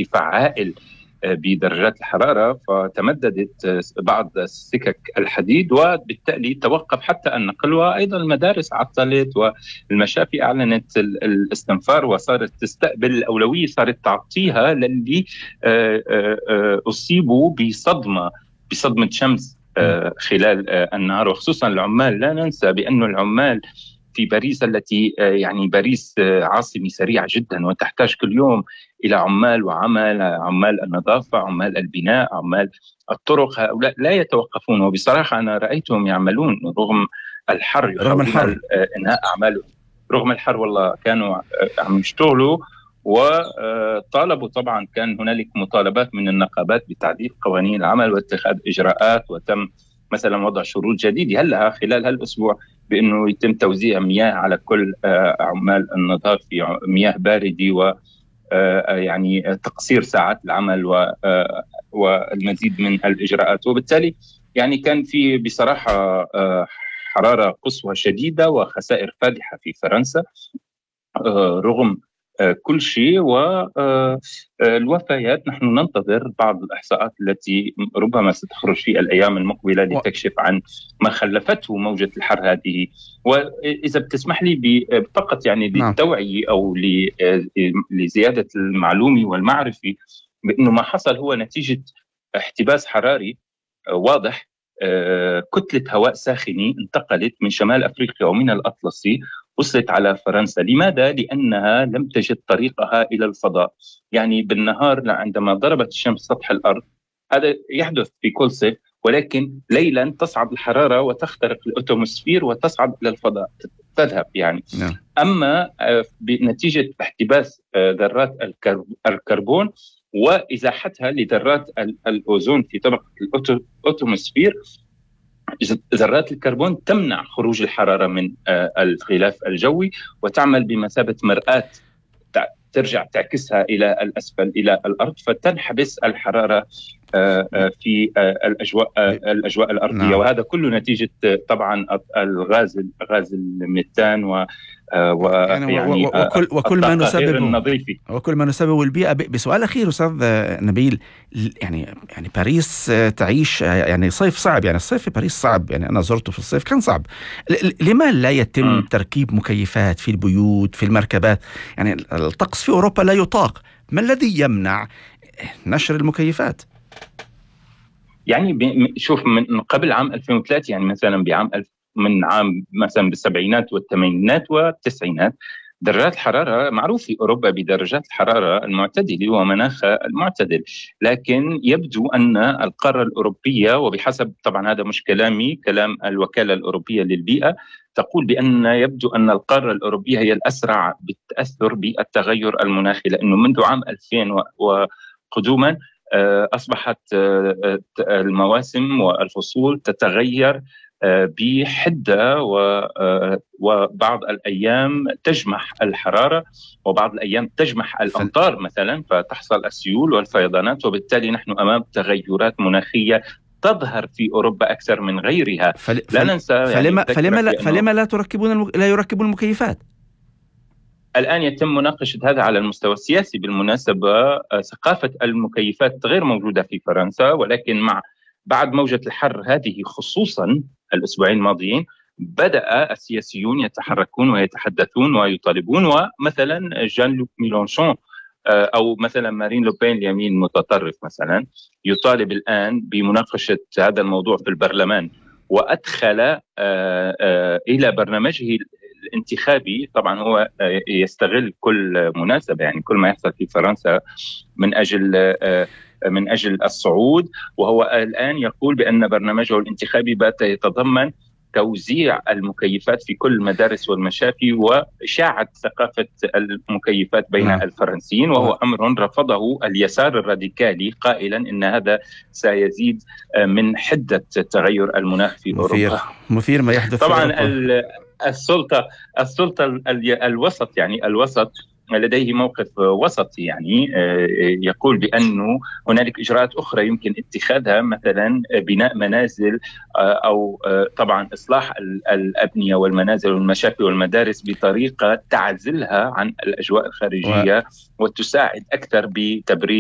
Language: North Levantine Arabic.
ارتفاع هائل بدرجات الحرارة، فتمددت بعض سكك الحديد وبالتالي توقف حتى النقل، وأيضا المدارس عطلت والمشافي أعلنت الاستنفار وصارت تستقبل الأولوية، صارت تعطيها للي أصيبوا بصدمة شمس خلال النهار، وخصوصا العمال. لا ننسى بأن العمال في باريس التي يعني باريس عاصمة سريعة جدا وتحتاج كل يوم إلى عمال وعمل، عمال النظافة، عمال البناء، عمال الطرق، هؤلاء لا يتوقفون. وبصراحة أنا رأيتهم يعملون رغم الحر، رغم الحر إنهاء أعمالهم رغم الحر. والله كانوا عم يشتغلوا، وطالبوا طبعا، كان هنالك مطالبات من النقابات بتعديل قوانين العمل واتخاذ إجراءات، وتم مثلا وضع شروط جديدة هلا خلال هالأسبوع بأنه يتم توزيع مياه على كل عمال النظافة، مياه باردة، و يعني تقصير ساعات العمل والمزيد من الإجراءات. وبالتالي يعني كان في بصراحة حرارة قصوى شديدة وخسائر فادحة في فرنسا رغم كل شيء. والوفيات نحن ننتظر بعض الإحصاءات التي ربما ستخرج في الأيام المقبلة لتكشف عن ما خلفته موجة الحر هذه. وإذا بتسمح لي فقط يعني للتوعية أو لزيادة المعلومة والمعرفة بأنه ما حصل هو نتيجة احتباس حراري واضح. كتلة هواء ساخنة انتقلت من شمال أفريقيا ومن الأطلسي وصلت على فرنسا. لماذا؟ لأنها لم تجد طريقها إلى الفضاء. يعني بالنهار عندما ضربت الشمس سطح الأرض، هذا يحدث في كل صيف، ولكن ليلا تصعد الحرارة وتخترق الأتموسفير وتصعد إلى الفضاء، تذهب يعني. أما بنتيجة احتباس ذرات الكربون وإزاحتها لذرات الأوزون في طبقة الأتموسفير، ذرات الكربون تمنع خروج الحرارة من الغلاف الجوي وتعمل بمثابة مرآة ترجع تعكسها إلى الأسفل إلى الأرض، فتنحبس الحرارة في الأجواء الأرضية. وهذا كله نتيجة طبعا غاز الميثان يعني وكل ما نسبب البيئة. بسؤال أخير أستاذ نبيل، يعني باريس تعيش يعني صيف صعب، يعني الصيف في باريس صعب، يعني أنا زرته في الصيف كان صعب. لما لا يتم تركيب مكيفات في البيوت في المركبات؟ يعني الطقس في أوروبا لا يطاق، ما الذي يمنع نشر المكيفات؟ يعني شوف، من قبل عام 2003 يعني مثلا من عام مثلا بالسبعينات والثمانينات والتسعينات درجات الحرارة معروف في أوروبا بدرجات الحرارة المعتدلة ومناخها المعتدل، لكن يبدو أن القارة الأوروبية، وبحسب طبعا هذا مش كلامي، كلام الوكالة الأوروبية للبيئة، تقول بأن يبدو أن القارة الأوروبية هي الأسرع بالتأثر بالتغير المناخي، لأنه منذ عام 2000 وقدوما أصبحت المواسم والفصول تتغير بحدة، وبعض الأيام تجمح الحرارة وبعض الأيام تجمح الأمطار مثلا، فتحصل السيول والفيضانات. وبالتالي نحن أمام تغيرات مناخية تظهر في أوروبا أكثر من غيرها. لا ننسى فلما لا يركبون المكيفات؟ الآن يتم مناقشة هذا على المستوى السياسي. بالمناسبة ثقافة المكيفات غير موجودة في فرنسا، ولكن بعد موجة الحر هذه خصوصا الأسبوعين الماضيين بدأ السياسيون يتحركون ويتحدثون ويطالبون، ومثلا جان لوك ميلانشون أو مثلا مارين لوبين اليمين المتطرف مثلا يطالب الآن بمناقشة هذا الموضوع في البرلمان، وأدخل إلى برنامجه الانتخابي. طبعا هو يستغل كل مناسبة، يعني كل ما يحصل في فرنسا من أجل الصعود، وهو الآن يقول بأن برنامجه الانتخابي بات يتضمن توزيع المكيفات في كل المدارس والمشافي وإشاعة ثقافة المكيفات بين الفرنسيين، وهو أمر رفضه اليسار الراديكالي قائلا إن هذا سيزيد من حدة تغير المناخ في أوروبا. مثير ما يحدث طبعا السلطة الوسط، يعني الوسط لديه موقف وسطي، يعني يقول بأنه هنالك إجراءات أخرى يمكن اتخاذها، مثلا بناء منازل أو طبعا إصلاح الأبنية والمنازل والمشافي والمدارس بطريقة تعزلها عن الأجواء الخارجية وتساعد أكثر بتبريد